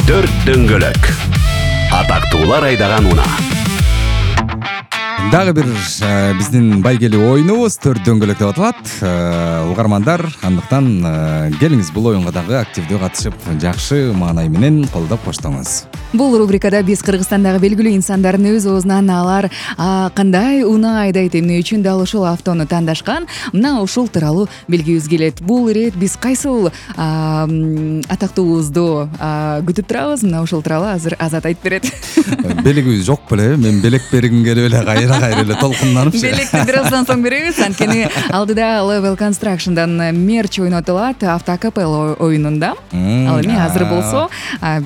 Төрт дөңгөлөк. Атактуулар айдаган унаа. Дагы бир биздин байгелүү оюнубуз төрт дөңгөлөк деп аталат. Угармандар, андыктан келиңиз бул оюнга дагы активдүү катышып, жакшы маанай менен колдоп коштоңуз. Бул рубрикада биз Кыргызстандагы белгилүү инсандардын өз оозунан алар кандай унаа айдайт, эмне үчүн дал ушул автону тандашкан, мына ушул тууралуу билгибиз келет. Бул ирет биз кайсыл атактуубузду күтүп турабыз, мына ушул тууралуу азыр Азат айтып берет. Белегибиз жок беле, мен белек бергим келип эле кайра эле толкунданып. Белекти бир аздан соң беребиз, анткени алдыда Level Construction'дан мерч ойнотулат автокапелла оюнунда. Ал эми азыр болсо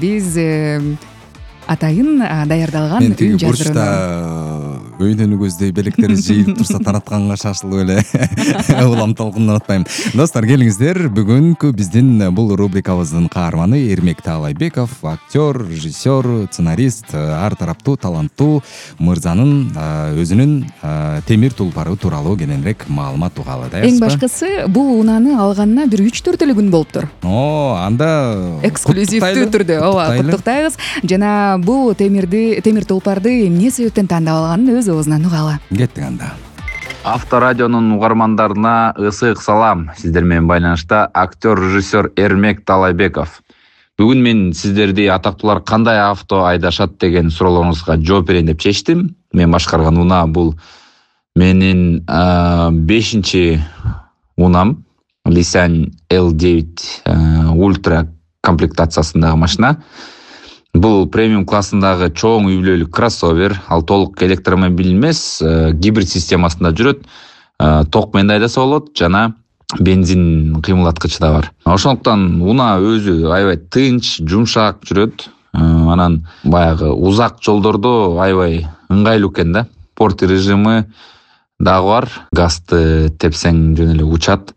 биз атайын даярдалган үн жаздырууну өйнөнүгүздөй белектери жыйылып турса таратканга шашылып эле улам толкундан атпайм. Достор, келиңиздер, бүгүнкү биздин бул рубрикабыздын каарманы Эрмек Таалайбеков, актер, режиссер, сценарист, ар тараптуу таланттуу мырзанын өзүнүн темир тулпары тууралуу кененирээк маалымат угалы, да? Эң башкысы, бул унааны алганына бир 3-4 эле күн болуптур. Анда эксклюзивдүү түрдө куттуктайбыз. Жана бул темир тулпарды эмне себептен тандап алганын өз оозунан угалы. Кеттик анда. Авторадионун угармандарына ысык салам. Сиздер менен байланышта актер, режиссер Эрмек Таалайбеков. Бүгүн мен сиздерди атактуулар кандай авто айдашат деген суроолоруңузга жооп берейин деп чечтим. Мен башкарган унаа бул менин 5-чи унам. Nissan L9 Ultra комплектациясындагы машина. Бул премиум классындагы чоң үй-бүлөлүк кроссовер. Ал толук электромобиль эмес, гибрид системасында жүрөт. Ток менен айдаса болот, жана бензин кыймылдаткычы да бар. Ошондуктан унаа өзү аябай тынч, жумшак жүрөт. Анан баягы узак жолдордо аябай ыңгайлуу экен да. Спорт режимы дагы бар. Газды тепсең жөн эле учат.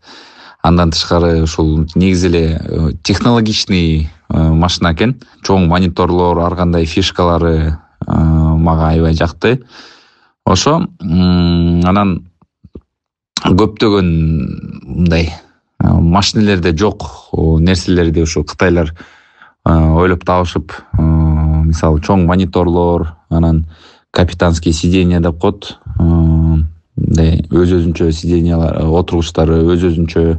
Андан тышкары ушул негизи эле технологичный машина экен. Чоң мониторлор, ар кандай фишкалары мага аябай жакты. Ошо анан көптөгөн мындай машинелерде жок нерселерди ушу кытайлар ойлоп табышып, мисалы чоң мониторлор, анан капитанский сиденье деп коет. Мындай өз-өзүнчө сиденьялар, отургучтары өз-өзүнчө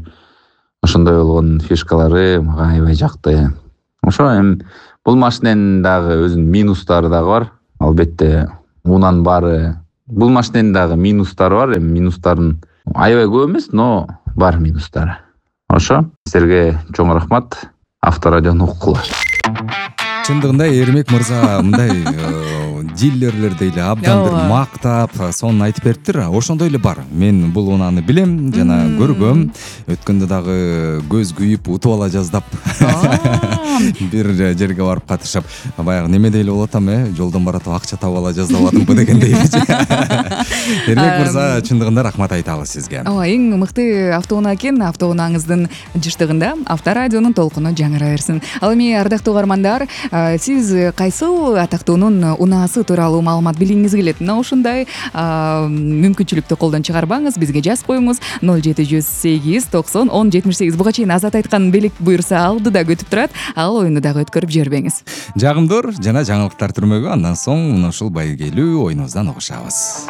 ошондой болгон фишкалары мага аябай жакты. Ошо эми бул машиненин дагы өзүнүн минустары дагы бар. Албетте унан баары бул машиненин дагы минустары бар. Эми минустарын аябай көп эмес, но бар минустары. Ошо силерге чоң рахмат. Авторадиону уккула. Чындыгында Эрмек мырза мындай дилерлерди эле абдан бир мактап, сонун айтып бериптир. Ошондой эле бар. Мен бул унааны билем, жана көргөм. Өткөндө дагы көз күйүп утуп ала жаздап бир жерге барып катышып, баягы неме дейле болот жолдон баратып акча таап ала жаздабадымбы дегендей. Эрмек мырза, чындыгында рахмат айтабыз сизге. Эң мыкты автоунаа экен. Автоунааңыздын жыштыгында Авторадионун толкуну жаңыра берсин. Ал эми ардактуу угармандар, сиз кайсыл атактуунун унаасы тууралуу маалымат билгиңиз келет? Мына ушундай мүмкүнчүлүктү колдон чыгарбаңыз, бизге жазып коюңуз 0708 90 10 78. Буга чейин Азат айткан белек буюрса алдыда күтүп турат. Ал оюнду дагы өткөрүп жибербеңиз. Жагымдуур жана жаңылыктар түрмөгү, андан соң мына ушул байгелүү оюнубуздан угушабыз.